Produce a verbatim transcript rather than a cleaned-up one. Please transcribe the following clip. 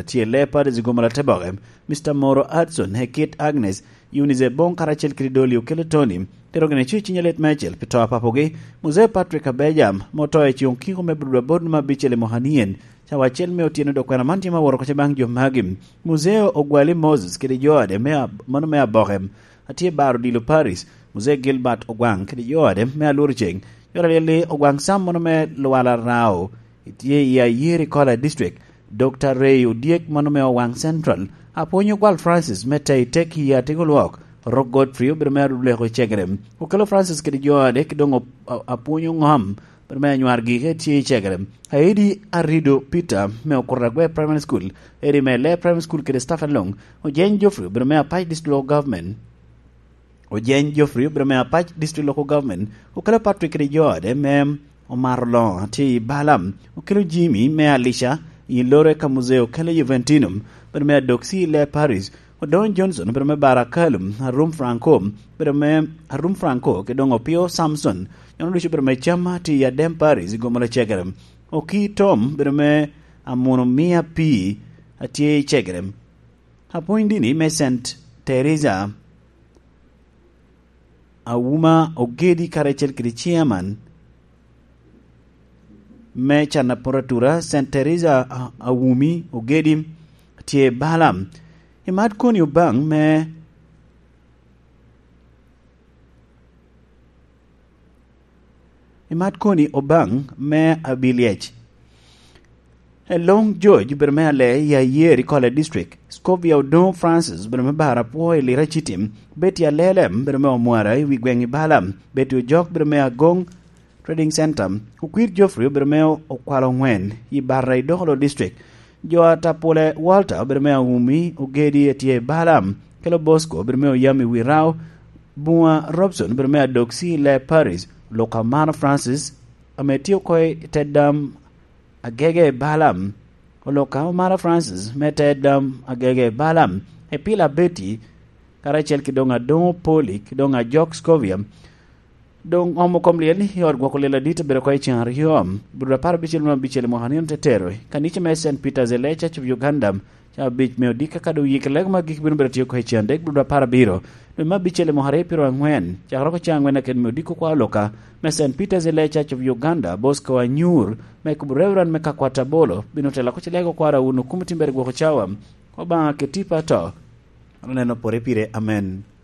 Tye Leopards i gomoro te boke, Mister Moro Hudson, Hekit Agnes, Eunice Ebong karacel kede Dolly Okello Tony, tero gin ico i ciny alet me acel pi to a papogi, Muzee Patrick Abeja, ma oto i ceŋ okiko me Budwa bot numa abicel i mwaka nien, cawa acel me otyeno dok kwena man tye ma woro oko baŋ jo magi. Muzee Ogwali Moses kede jo ade me ab-, mano me aboke, atye baro dilo Paris, Muzee Gilbert Ogwaŋ kede jo ade me alworo ceŋ, jo alyel i Ogwaŋ Sam mano me Lwala Rao, tye i Ayeri Kola District, Dokta Ray Odyek mano me Owaŋ Central, Apwony Ogwal Francis me Tei Tek i Atego Lwok, Rok Godfrey obedo me Aruleko i Cegere, Okello Francis kede jo ade, ki doŋ op-, a-, Apwony Oŋom obedo me Anywar Gike tye i Cegere, Aidi Arido Peter me Okuta Agwe Primary School, Eri me Lee Primary School kede staff along, Ojeny Geoffrey obedo me Apac District Local Government, Ojeny Geoffrey obedo me Apac District Local Government, Okello Patrick kede jo ade me Omaro Loŋo tye i Balaam, Okello Jimmy me Alica i Lore ka Muzee Okello Juventino obedo me Adoksi i Lee Paris, Odongo Johnson obedo me Barakalum, Arum Franco obedo me Arum Franco, kede doŋ Opio Samson, nyono ducu obedo me Cama tye i Adem Paris i gomoro Cegere, Oki Tom obedo me Amuno Mia Pii atye i Cegere, Apwony Dini me Saint Teresa, Awuma Ogedi karacel kede chairman me can aporatura, Saint Teresa, a-, Awumi Ogedi tye Balaam. Imat koni Obaŋ me, imat koni Obaŋ me Abiliec. Elong George obedo me Alee i Ayer i Kola District, Scovia Odongo Francis obedo me Bar Apwo i Lira City, Betty Alelem obedo me Omwara i wi gweŋ i Balaam, Betty Ojok obedo me Agong Trading Center, Okwir Geoffrey obedo me Okwalo Ŋwen i Barra i Dokolo District, jo Atapule Walter obedo me Aumi Ogedi etye i Balaam, Kelo Bosco obedo me Oyam i Wirao, Bunga Robson obedo me Adoksi i Lee Paris, Luka Mano Francis ame tye oko i te dam Agege Balaam, Oloka Omara Francis me te dam Agege Balaam, Epila Betty, karacel ki doŋ Adoŋo Poli, ki doŋ Ajok Scovia, doŋ omo kom lyel i ot gwoko lyel adit obedo oko i ceŋ aryo, Budura apar abicel me abicel i mwaka nino te tero, kanica me Saint Peter's Elee Church of Uganda, ca abic me odika ka doŋ yik lego ma gik bino bedo tye oko i ceŋ adek, Budura apar abiro, dwe me abicel i mwaka aryo pyero angwen, cakere oko ceŋ angwen aked me odiko kwa Oloka, me Saint Peter's Elee Church of Uganda, Bosco Anyur, me kubo Reverend me Kakwata Bolo, bino telo oko ci lego kwara wun okumo timbere gwoko cawa. Obaŋa keti pa to. Aneno pore pire. Amen.